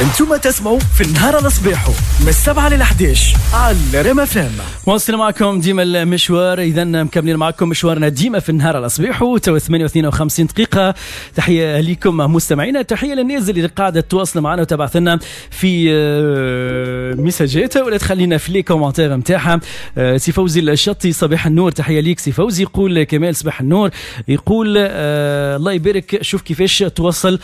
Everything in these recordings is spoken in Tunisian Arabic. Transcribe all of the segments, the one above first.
انتم تسمعوا في النهار على صباحو من 7 لل 11 على ريم اف ام. واصلين معكم ديما المشوار، اذا مكملين معكم مشوارنا ديما في النهار على صباحو، تو 8:52 دقيقة. تحية لكم مستمعينا، تحية للناس اللي قاعدة تتواصل معنا وتبعث لنا في ميساجات ولا تخلينا في les commentaires نتاعها. سي فوزي الشطي صباح النور، تحية ليك سي فوزي. يقول كمال صباح النور، يقول الله يبارك، شوف كيفاش توصل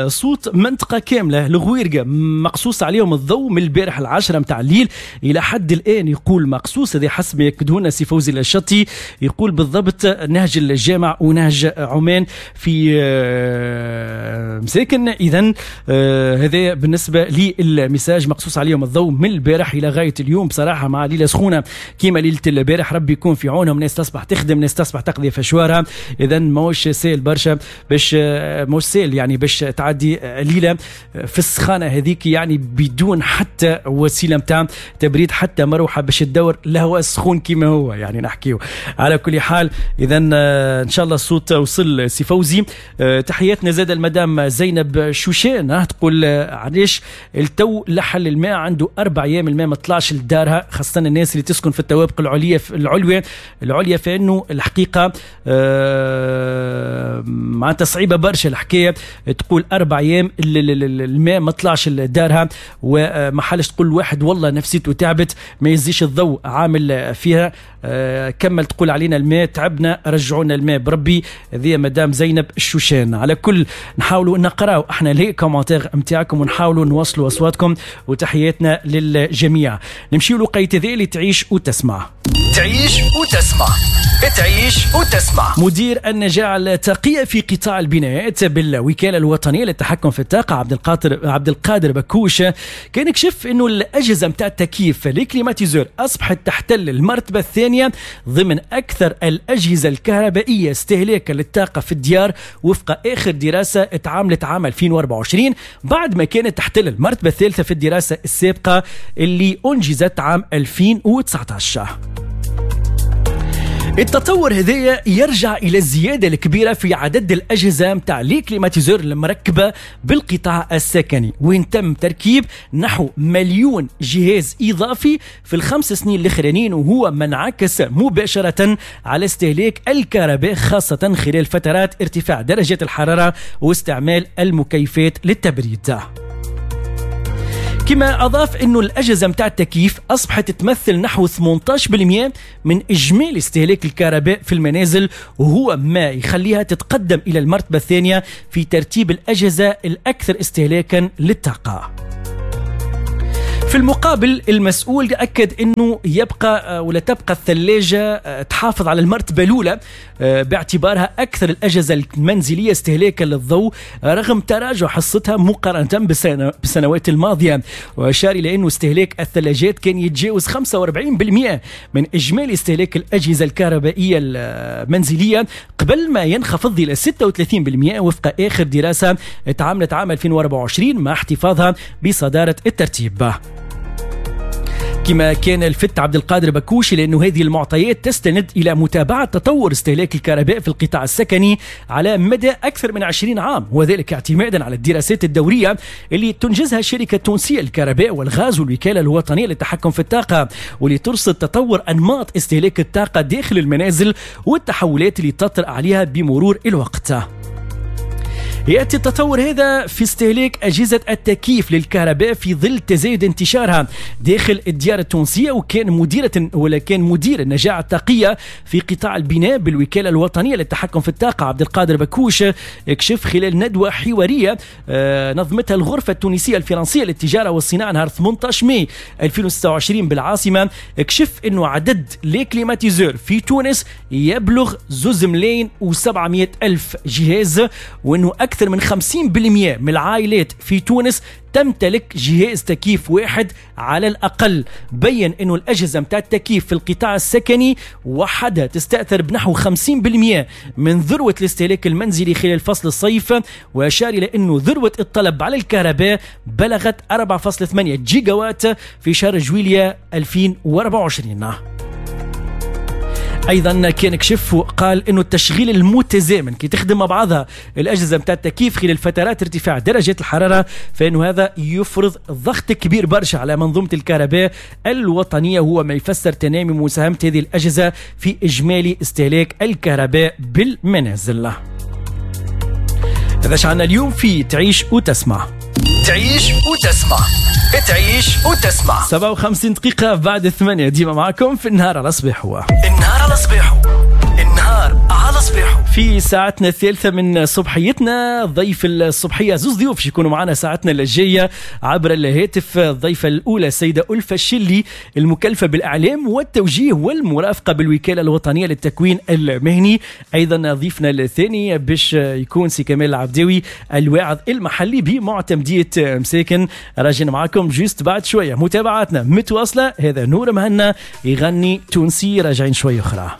صوت منطقة كاملة الغويرقة مقصوص عليهم الضوء من البارح 10 متاع الليل إلى حد الآن. يقول مقصوص، هذا حسب ما يكدهونا سي فوزي الشطي. يقول بالضبط نهج الجامع ونهج عمان في مساكن. إذا هذا بالنسبة لل message، مقصوص عليهم الضوء من البارح إلى غاية اليوم. بصراحة مع ليلة سخونة كيما ليلة البارح، ربي يكون في عونهم، ناس تصبح تخدم، ناس تصبح تقضي في شوارع. إذا ماهوش سهل برشا باش ماهوش سهل يعني باش تعدي ليلة في السخانة هذيك، يعني بدون حتى وسيلة متاع تبريد، حتى مروحة باش تدور الهواء السخون كما هو يعني نحكيو. على كل حال إذا إن شاء الله الصوت وصل سي فوزي. تحياتنا زاد المدام زينب شوشان، تقول علاش التو لحل الماء عنده 4 أيام الماء ما طلعش لدارها، خاصة الناس اللي تسكن في الطوابق العليا فإنه الحقيقة معناتها صعيبة برشا الحكاية. تقول 4 أيام الماء ما طلعش لدارها وما حالش. تقول واحد والله نفسيته تعبت، ما يزيش الضوء عامل فيها. كمل تقول علينا الماء تعبنا، رجعونا الماء بربي. هذه مدام زينب الشوشان. على كل نحاولوا نقراو احنا les commentaires نتاعكم ونحاولوا نوصلوا اصواتكم، وتحياتنا للجميع. نمشيو لوقيت ذي اللي تعيش وتسمع. تعيش وتسمع، تعيش وتسمع. مدير النجاعة الطاقية في قطاع البنايات بالوكالة الوطنية للتحكم في الطاقة عبد القادر بكوش كان كشف انه الأجهزة متاع التكييف les climatiseurs أصبحت تحتل المرتبة الثانية ضمن أكثر الأجهزة الكهربائية استهلاكا للطاقة في الديار، وفق آخر دراسة اتعاملت عام 2024، بعد ما كانت تحتل المرتبة الثالثة في الدراسة السابقة اللي أنجزت عام 2019. التطور هذايا يرجع إلى الزيادة الكبيرة في عدد الأجهزة متاع les climatiseurs المركبة بالقطاع السكني، وين تم تركيب نحو 1,000,000 جهاز إضافي في ال5 سنين الأخرانيين، وهو ما انعكس مباشرة على استهلاك الكهرباء خاصة خلال فترات ارتفاع درجات الحرارة واستعمال المكيفات للتبريد. كما أضاف أنه الأجهزة متاع التكييف أصبحت تمثل نحو 18% من إجمالي استهلاك الكهرباء في المنازل، وهو ما يخليها تتقدم إلى المرتبة الثانية في ترتيب الأجهزة الأكثر استهلاكا للطاقة. في المقابل المسؤول أكد أنه يبقى ولا تبقى الثلاجة تحافظ على المرتبة الأولى باعتبارها أكثر الأجهزة المنزلية استهلاكا للضوء رغم تراجع حصتها مقارنة بالسنوات الماضية. وأشار إلى أنه استهلاك الثلاجات كان يتجاوز 45% من إجمالي استهلاك الأجهزة الكهربائية المنزلية قبل ما ينخفض إلى 36% وفق آخر دراسة تعاملت عام 2024 مع احتفاظها بصدارة الترتيب. كما كان الفت عبد القادر بكوشي لأنه هذه المعطيات تستند إلى متابعة تطور استهلاك الكهرباء في القطاع السكني على مدى أكثر من 20 عام، وذلك اعتمادا على الدراسات الدورية اللي تنجزها الشركة التونسية للكهرباء والغاز والوكالة الوطنية للتحكم في الطاقة، واللي ترصد تطور أنماط استهلاك الطاقة داخل المنازل والتحولات اللي تطرأ عليها بمرور الوقت. يأتي التطور هذا في استهلاك أجهزة التكييف للكهرباء في ظل تزايد انتشارها داخل الديار التونسية. وكان مدير النجاعة الطاقية في قطاع البناء بالوكالة الوطنية للتحكم في الطاقة عبد القادر بكوش اكشف خلال ندوة حوارية نظمتها الغرفة التونسية الفرنسية للتجارة والصناعة نهار 18 ماي 2026 بالعاصمة، اكشف أنه عدد les climatiseurs في تونس يبلغ 2,700,000 جهاز، وأنه أكثر من 50% من العائلات في تونس تمتلك جهاز تكييف واحد على الأقل. بين أنه الأجهزة متاع التكييف في القطاع السكني وحدها تستأثر بنحو 50% من ذروة الاستهلاك المنزلي خلال فصل الصيف، وأشار إلى أنه ذروة الطلب على الكهرباء بلغت 4.8 جيجاوات في شهر جويلية 2024. ايضا كان كشف وقال انه التشغيل المتزامن كي تخدم مع بعضها الاجهزة نتاع التكييف خلال فترات ارتفاع درجات الحرارة فانه هذا يفرض ضغط كبير برشا على منظومة الكهرباء الوطنيه، هو ما يفسر تنامي مساهمة هذه الاجهزة في اجمالي استهلاك الكهرباء بالمنازل. هذا شعنا اليوم في تعيش وتسمع. تعيش وتسمع، تعيش وتسمع. 57 دقيقة بعد 8، ديما معكم في النهار على صباح. هو النهار على صباحو، النهار على صباحو. في ساعتنا الثالثة من صبحيتنا ضيف الصبحية، زوز ضيوف يكونوا معنا ساعتنا الجاية عبر الهاتف. الضيفة الأولى السيدة ألفة الشلي، المكلفة بالإعلام والتوجيه والمرافقة بالوكالة الوطنية للتكوين المهني. أيضا ضيفنا الثاني باش يكون سي كمال العبداوي، الواعظ المحلي بمعتمدية مساكن. راجعين معكم juste بعد شوية، متابعاتنا متواصلة. هذا نور مهنا يغني تونسي، راجعين شوية أخرى.